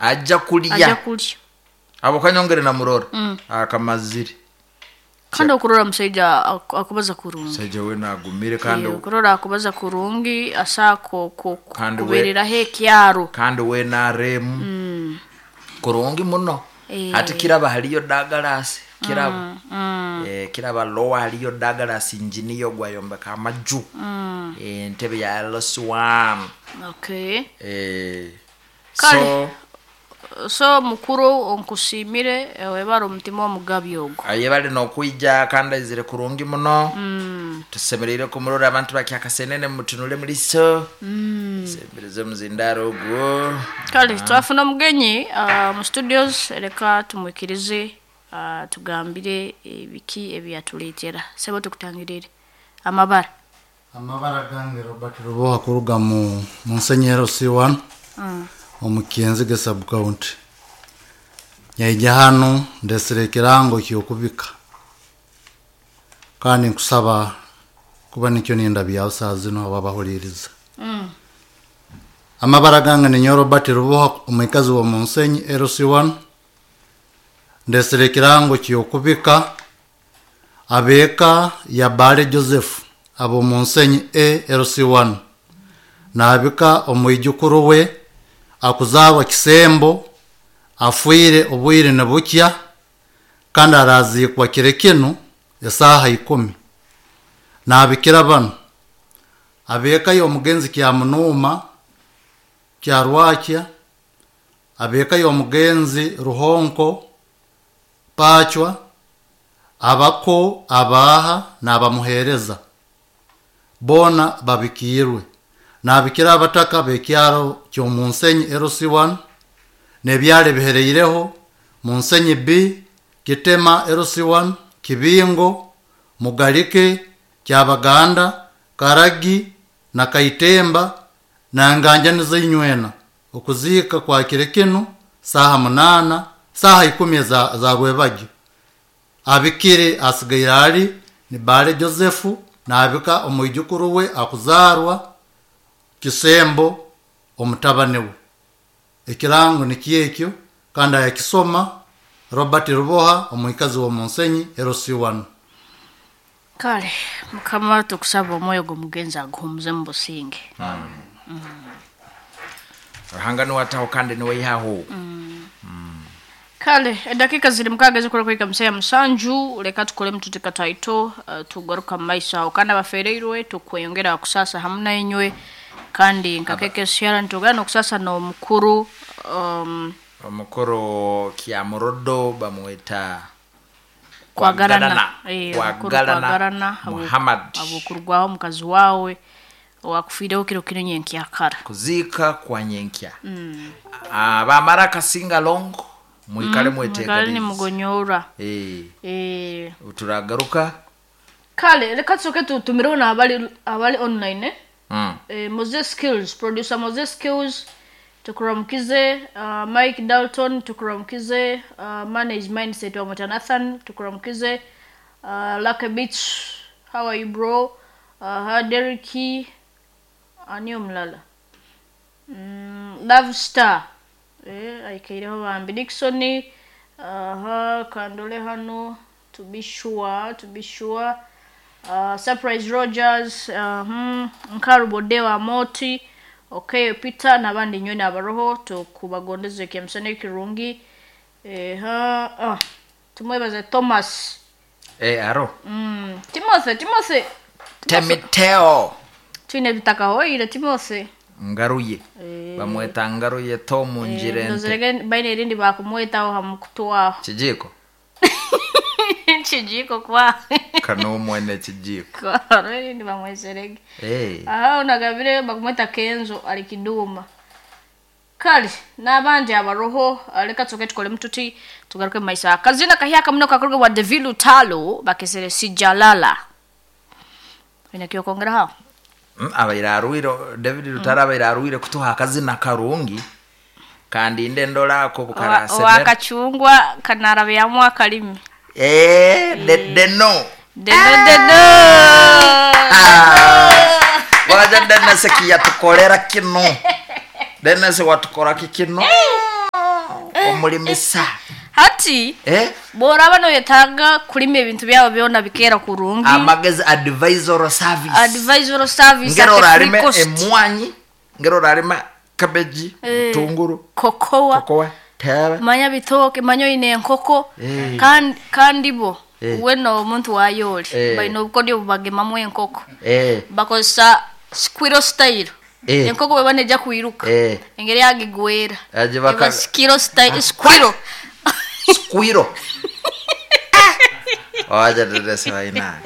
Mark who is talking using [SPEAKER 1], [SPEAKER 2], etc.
[SPEAKER 1] Aja
[SPEAKER 2] Aja
[SPEAKER 1] kulya.
[SPEAKER 2] Kulya.
[SPEAKER 1] Habwokuba nyongere namurora. Akamazire.
[SPEAKER 2] Kandi okurora omusaija akubaza kurungi.
[SPEAKER 1] Omusaija we nagumire kandi
[SPEAKER 2] Eh, okurora akubaza kurungi asa
[SPEAKER 1] Kandi
[SPEAKER 2] kubereraho ekyaro.
[SPEAKER 1] Kandi we NRM kurungi muno.
[SPEAKER 2] Eh.
[SPEAKER 1] Hati kiraba haliyo Douglas kiraba. Eh, kiraba lower haliyo Douglas engineer gwayombeka amaju. Eh, entebe ya LS1.
[SPEAKER 2] Okay.
[SPEAKER 1] Eh,
[SPEAKER 2] Kale.
[SPEAKER 1] so
[SPEAKER 2] So mukuru onkusiimire, webare omutima omugabi ogwo.
[SPEAKER 1] Ayebale nokwija kandi aizire kurungi muno. Tusemereire kumurora. Abantu bakyakasenene mutunule muliso. Sembereze omuzindaro ogwo.
[SPEAKER 2] Kale twafuna omugenyi mu studios, reka tumwikirize tugambire ebiki ebiyatuleetera. Sebo, tukutangirire amabara.
[SPEAKER 3] Amabara gange Robert Ruboha, kuruga mu Munsenyi LC1, omu Kyenzige sub county. Nyaija hanu ndesire ekirango kyokubika, kandi nkusaba kuba nikyo nindabyaho saa zino ababahuliriza. Amabara gange ninyo Robert Ruboha, omwikazi wa Munsenyi LC1. Ndesire ekirango kyokubika abeeka ya Bale Joseph abo Munsenyi A LC1. Nabika omwijukuru we akuzarwa Kisembo, afwire obwire nibukya, kandi arazikwa kire kinu esaaha 10. Nabikira bano: abeeka y'omugenzi Kyamunuma Kyarwakya, abeeka y'omugenzi Ruhonko Pachwa, abako abaha n'abamuheereza boona babikiirwe. Nabikira abataka b'ekyaro ky'omunsenyi LC1 n'ebyaro ebihereireho: Munsenyi B, Kitema LC1, Kibingo, Mugalike, Kyabaganda, Karagi na Kaitemba na nganjani z'inywena. Okuziika kwa kire kinu saaha 8, saaha 10 za rwebagyo. Abikire asigaire ari ni Bale Joseph. Nabika omwijukuru we akuzarwa Kisembo, omutabani we. Ekirango nikyekyo, kandi ayakisoma Robert Ruboha, omwikazi wa Munsenyi LC1.
[SPEAKER 2] Kale Mukama, tukusaba omwoyo gw'omugenzi aguhumuze mu businge.
[SPEAKER 1] Ruhanga niwataho kandi niweihaho.
[SPEAKER 2] Kale edakika ziri 6 zikora kuhika museya 7. Leka tukole mututika taito, tugaruka mu maiso aho. Kandi abafereirwe tukweyongera kusasa hamu nainywe, kandi nkakeke syara nitugana nokusasa n'omukuru
[SPEAKER 1] Omukuru Kyamurodo bamweta
[SPEAKER 2] Kwagarana. Eh, omukuru.
[SPEAKER 1] Kwagarana.
[SPEAKER 2] Kwagarana.
[SPEAKER 1] Muhammad.
[SPEAKER 2] Abukurwaho omukazi wawe owakufiireho kiro kino nyenkyakara.
[SPEAKER 1] Kuziika kwa nyenkya. Ah, bamara kasinga longo mwikale
[SPEAKER 2] Mwikale
[SPEAKER 1] mwetegereze.
[SPEAKER 2] nimugonyora.
[SPEAKER 1] Eh,
[SPEAKER 2] Eh,
[SPEAKER 1] turagaruka.
[SPEAKER 2] Kale reka tusoke tutumireho n'abali abali online, eh? Eh, Moses Skills, producer Moses Skills, tukuramukize. Mike Dalton, tukuramukize. Manage Mindset wa Nathan, tukuramukize. Lucky Beach, how are you, bro? Derek, ani omulala? Love Star, eh, aikaireho bambi. Dixon, kandole hano to be sure, to be sure. Surprise Rogers, Nkarubode wa Moti, okay, Peter n'abandi nywe abaroho, tukubagondeze ekyamisana ekirungi. Eha, tumwebaze Thomas.
[SPEAKER 1] Eh, aro.
[SPEAKER 2] Timothy, Timothy.
[SPEAKER 1] Temiteo.
[SPEAKER 2] Twine ebitakahoire, Timothy.
[SPEAKER 1] Ngaruye. Bamweta Ngaruye Tom Njirente.
[SPEAKER 2] Ndozerege baine erindi bakumwetaho hamukutwaho.
[SPEAKER 1] Kijiko.
[SPEAKER 2] Kijiko kwa.
[SPEAKER 1] Kano mwene kijiko.
[SPEAKER 2] Hariho erindi bamweserege.
[SPEAKER 1] Eh.
[SPEAKER 2] Aha onagabire bakumweta Kenzo ali Kiduma. Kale n'abandi abaroho, reka tusoke tukole mututi tugaruke mu maiso. Akazina kahyaka muno kakorwa wa David Lutalo, bakesere Sijalala. Ine kyokongera hawo.
[SPEAKER 1] Abaire arwire David Lutalo, abaire arwire kutuha akazina karungi, kandi inde ndolako bukarasemera.
[SPEAKER 2] Owakachungwa kanarabyamu akalimi.
[SPEAKER 1] Eh, de deno.
[SPEAKER 2] Deno deno.
[SPEAKER 1] Waja Dennis kiyatukolera kino. Dennis watukora kikino. Omulimisa.
[SPEAKER 2] Hati
[SPEAKER 1] Eh?
[SPEAKER 2] bworaba noyetaaga kulima ebintu byawe byona bikeera kurungi.
[SPEAKER 1] Amagezi advisory service.
[SPEAKER 2] Advisory service
[SPEAKER 1] Ngero
[SPEAKER 2] at a free
[SPEAKER 1] orarima
[SPEAKER 2] cost.
[SPEAKER 1] emwanyi, ngero orarima cabbage,
[SPEAKER 2] Eh.
[SPEAKER 1] tunguru,
[SPEAKER 2] Kokowa.
[SPEAKER 1] kokowa, teebe.
[SPEAKER 2] Manya bitooke, manya oine enkoko.
[SPEAKER 1] Eh.
[SPEAKER 2] Kandi kandi bo
[SPEAKER 1] Eh.
[SPEAKER 2] wena omuntu wayooli
[SPEAKER 1] Eh.
[SPEAKER 2] baine obukodyo bubagemamu enkoko.
[SPEAKER 1] Eh.
[SPEAKER 2] Bakozesa squirrel style.
[SPEAKER 1] Eh.
[SPEAKER 2] Enkoko bweba neija kwiruka.
[SPEAKER 1] Eh.
[SPEAKER 2] Engeri agigwera.
[SPEAKER 1] Agibaka-
[SPEAKER 2] Eba squirrel style, squirrel.
[SPEAKER 1] Squirrel. Waja dedesa waina.